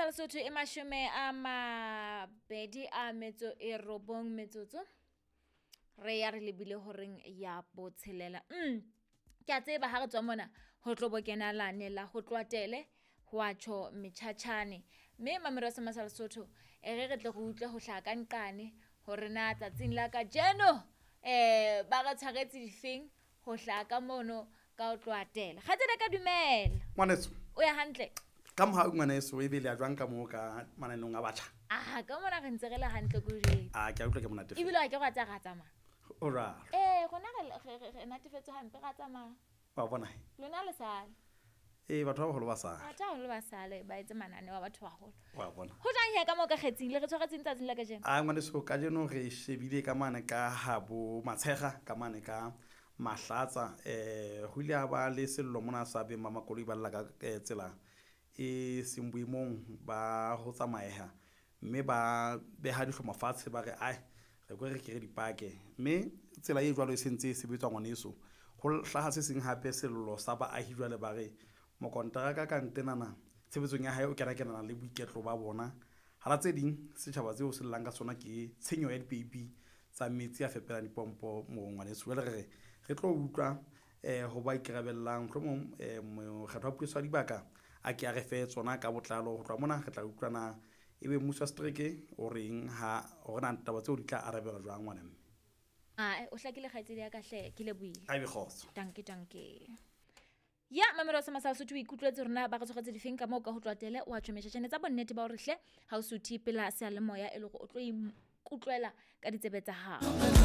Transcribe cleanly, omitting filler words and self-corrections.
sa Lesotho e 29 metsotso. Re ya re lebile horeng ya botshelela. Ke a tseba ha re tswa mona ho tlo bo kena lane la ho tloha tele ho a tjho metjhatjhane. Mme mamelo sa sa Lesotho e re re tle re utlwe ho hlaha ka nqane hore na tsatsing la kajeno ba re tshwaretse difeng ho hlaha ka mono ka ho tloha tele. Kgaitsedi ka dumela. Ngwaneso. O ya hantle? Ka mohau ngwaneso, e bele ya jwang ka moo ka mananeng a batjha? Ah, ka mona re ntse re le hantle ko jwetse. Ah, ke a utlwa ke monate. Ebile wa ke go tsa ra tsamaya. O jwalo. Rona re natefetswe hampe ra tsamaya. Wa bona? Lona le sale. Batho ba baholo ba sale. Batho ba baholo ba sale ba etse mananeo a batho ba baholo. Wa bona. Ho jwang he ka moo ka kgetsing le re tshwaretseng tsatsing la kajeno? Ah, ngwaneso, kajeno re shebile ka mane ka habo Matshega, ka mane ka Mahlatsa. Ho ile ha ba le sello mona sa beng ba makoloi ba lla ka tsela e seng boemong ba ho tsamaeha, mme ba beha dihlomo fatshe ba re ai re ko re ke re dipake, mme tsela e jwalo e sentse e sebetswa ngwaneso. Ho hlaha se seng hape sello sa baahi jwale ba re mokonteraka ka ntenana tshebetsong ya hae o kena kenana le boiketlo ba bona. Hara tse ding setjhaba tseo se llang ka sona ke tshenyo ya dipeipi tsa metsi a fepelang dipompo moo ngwaneso. Jwale re re re tlo utlwa ho ba ikarabellang, mohlomong mokgatlo wa puso wa dibaka a ke a re fe tsona ka botlalo. Ho tloha mona re tla utlwa na ebe mmuso wa setereke o reng ha hore na taba tseo di tla arabelwa jwang ngwana mme. Ah, o hlakile kgaitsedi ya ka hle, ke lebohile. A be kgotso. Danke, danke. Ya mamelo sa Masala Sotho o ikutlwetse rona ba re tshwaretse difeng ka moo ka ho tloha tele o a tjho metjhatjhane tsa bonnete ba hore hle ha o suthe pela seyalemoya e le hore o tlo ikutlwela ka ditsebe tsa hao.